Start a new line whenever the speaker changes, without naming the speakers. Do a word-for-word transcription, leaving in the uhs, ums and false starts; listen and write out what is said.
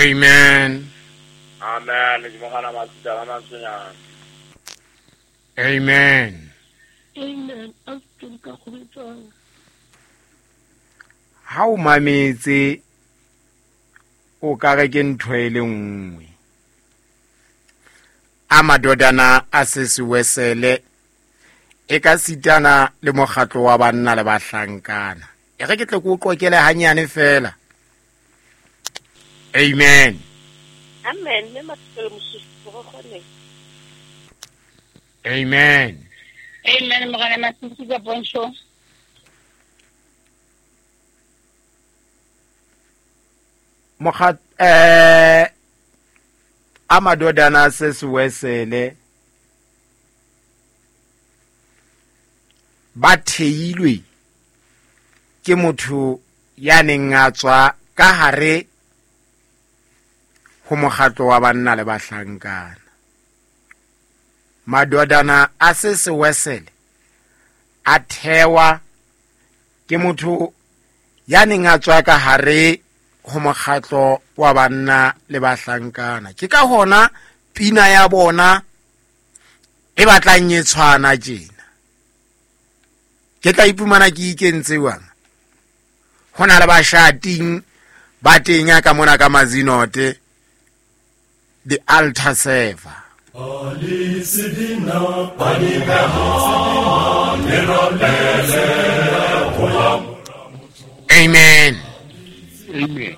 Amen.
Amen. Ke mogana masita la mantsonyana.
Amen.
Amen. A ke ka go betsang.
Ha o mametse o ka re ke ntho e le nngwe. A madodana a sesiwesele e ka sitana le mokgatlo wa banna le bahlankana. E re ke tle ke o qokele hanyane fela. Amen.
Amen. Mme Mathupelo Mosupologo go kgone.
Amen.
Amen. Morena Masisi ka pontsho.
Mokgat eh a madodana sesiwesele ba theilwe ke motho ya neng a tswa ka hare ho mokgatlo wa banna le bahlankana. Madodana a sesiwesele a thewa ke motho ya neng a tswa ka hare ho mokgatlo wa banna le bahlankana. Ke ka hona pina ya bona e batlang e tshwana tjena. Ke tla iphumana ke ikentse jwang? Ho na le bashating ba teng ya ka mona ka Mazinote, the altar server. Amen.
Amen.